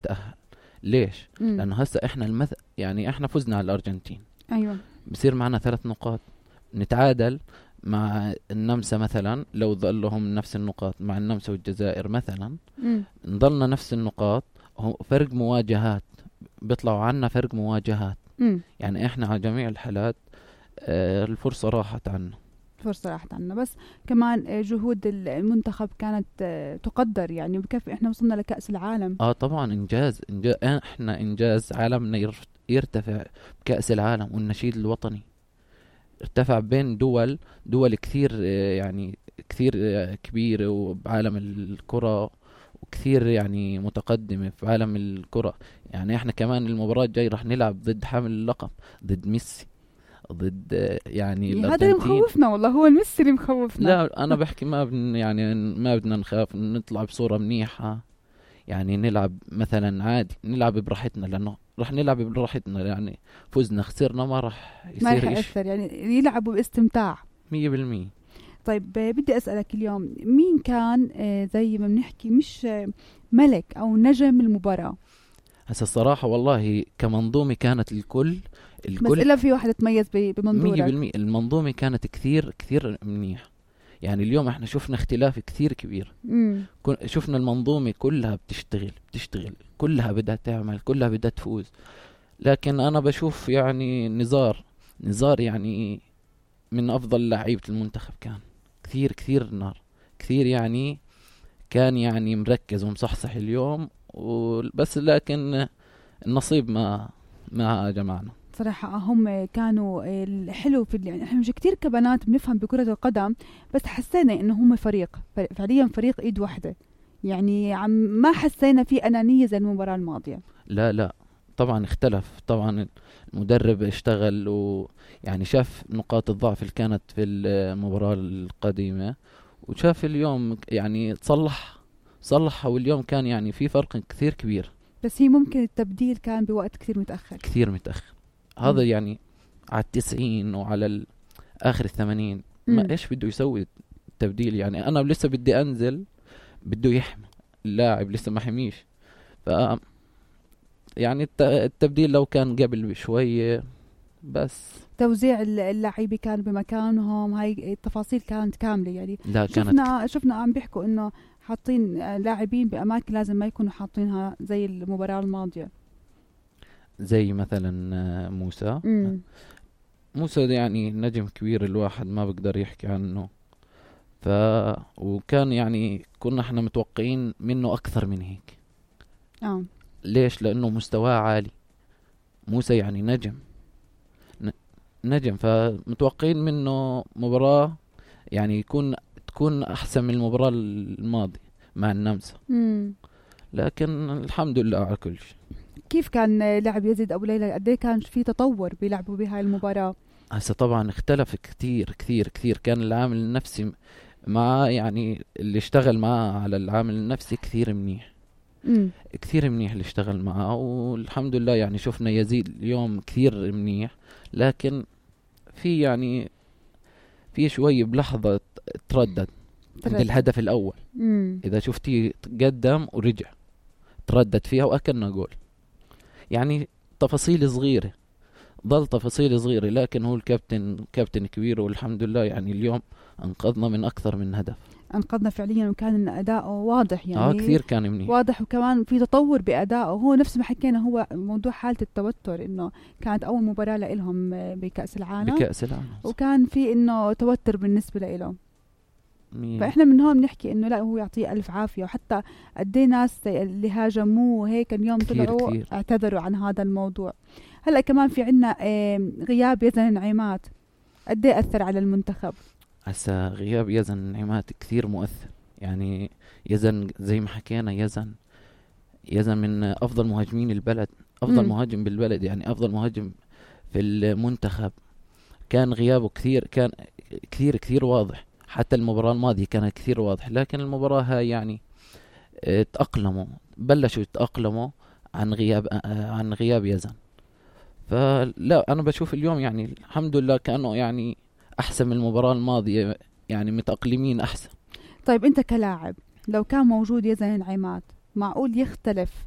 تأهل. ليش؟ لأنه هسا إحنا يعني إحنا فزنا على الأرجنتين، أيوة، بصير معنا 3 نقاط، نتعادل مع النمسا مثلا، لو ظلهم نفس النقاط مع النمسا والجزائر مثلا، نضلنا نفس النقاط، فرق مواجهات، بيطلعوا عنا فرق مواجهات. يعني إحنا على جميع الحالات الفرصة راحت عنا. بس كمان جهود المنتخب كانت تقدر، يعني بكفي احنا وصلنا لكأس العالم. طبعا إنجاز احنا إنجاز عالمنا يرتفع بكأس العالم، والنشيد الوطني ارتفع بين دول كثير، يعني كثير كبيرة وبعالم الكرة، وكثير يعني متقدمة في عالم الكرة. يعني احنا كمان المباراة الجاي رح نلعب ضد حامل اللقب، ضد ميسي، ضد يعني هذا اللي مخوفنا والله، هو الميسي اللي مخوفنا. لا انا بحكي ما بدنا نخاف، نطلع بصورة منيحة، يعني نلعب مثلا عادي، نلعب براحتنا، لانه رح نلعب براحتنا، يعني فزنا خسرنا ما رح يأثر، يعني يلعبوا باستمتاع 100%. طيب بدي أسألك اليوم، مين كان زي ما بنحكي مش ملك أو نجم المباراة؟ هسا الصراحة والله كمنظومة كانت الكل بس إلا في واحد تميز بمنظورك. 100%. المنظومة كانت كثير كثير منيح. يعني اليوم احنا شفنا اختلاف كثير كبير. شفنا المنظومة كلها بتشتغل كلها بدها تعمل، كلها بدها تفوز. لكن انا بشوف يعني نزار يعني من افضل لعيبة المنتخب، كان كثير نار كثير، يعني كان يعني مركز ومصحصح اليوم بس، لكن النصيب ما جمعنا صراحة. هم كانوا الحلو في يعني احنا مش كتير كبنات بنفهم بكرة القدم، بس حسينا انه هم فريق فعليا، فريق ايد واحدة، يعني ما حسينا في انانية زي المباراة الماضية. لا طبعا اختلف. طبعا المدرب اشتغل ويعني شاف نقاط الضعف اللي كانت في المباراة القديمة، وشاف اليوم يعني صلحها، واليوم كان يعني في فرق كثير كبير. بس هي ممكن التبديل كان بوقت كثير متأخر. هذا يعني على 90 وعلى آخر 80 ما إيش بده يسوي التبديل؟ يعني أنا لسه بدي أنزل، بده يحمي اللاعب، لسه ما حميش. يعني التبديل لو كان قبل بشوية، بس توزيع اللاعبين كان بمكانهم، هاي التفاصيل كانت كاملة. يعني لا شفنا عم بيحكوا إنه حاطين لاعبين بأماكن لازم ما يكونوا حاطينها زي المباراة الماضية، زي مثلا موسى يعني نجم كبير، الواحد ما بقدر يحكي عنه. وكان يعني كنا احنا متوقعين منه أكثر من هيك. ليش؟ لأنه مستواه عالي. موسى يعني نجم، فمتوقعين منه مباراة يعني تكون أحسن من المباراة الماضية مع النمسا. لكن الحمد لله على كل شيء. كيف كان لعب يزيد أبو ليلى؟ قد ايه كان في تطور بيلعبوا بهاي المباراة؟ هسه طبعا اختلف كثير. كان العامل النفسي مع يعني اللي اشتغل معاه على العامل النفسي كثير منيح. كثير منيح اللي اشتغل معاه، والحمد لله يعني شفنا يزيد اليوم كثير منيح. لكن في يعني في شوي بلحظة تردد عند الهدف الأول. إذا شفتي قدم ورجع تردد فيها وأكلنا جول. يعني تفاصيل صغيرة، ضل تفاصيل صغيرة، لكن هو كابتن كبير، والحمد لله يعني اليوم أنقذنا من أكثر من هدف. أنقذنا فعليا، وكان أداؤه واضح، يعني كثير كان منيح، واضح، وكمان في تطور بأدائه. هو نفس ما حكينا، هو موضوع حالة التوتر، إنه كانت أول مباراة لهم بكأس العالم، وكان في إنه توتر بالنسبة له. فإحنا من هون بنحكي إنه لا، هو يعطيه ألف عافية. وحتى قدي ناس اللي هاجموه هيك اليوم طلعوا اعتذروا عن هذا الموضوع. هلأ كمان في عنا غياب يزن نعيمات، قدي أثر على المنتخب؟ هسا غياب يزن نعيمات كثير مؤثر. يعني يزن زي ما حكينا، يزن من أفضل مهاجمين البلد، أفضل مهاجم بالبلد، يعني أفضل مهاجم في المنتخب. كان غيابه كان كثير واضح. حتى المباراة الماضية كانت كثير واضح، لكن المباراة هاي يعني بلشوا يتأقلموا عن غياب يزن. فلا أنا بشوف اليوم يعني الحمد لله كأنه يعني أحسن من المباراة الماضية، يعني متأقلمين أحسن. طيب أنت كلاعب، لو كان موجود يزن نعيمات، معقول يختلف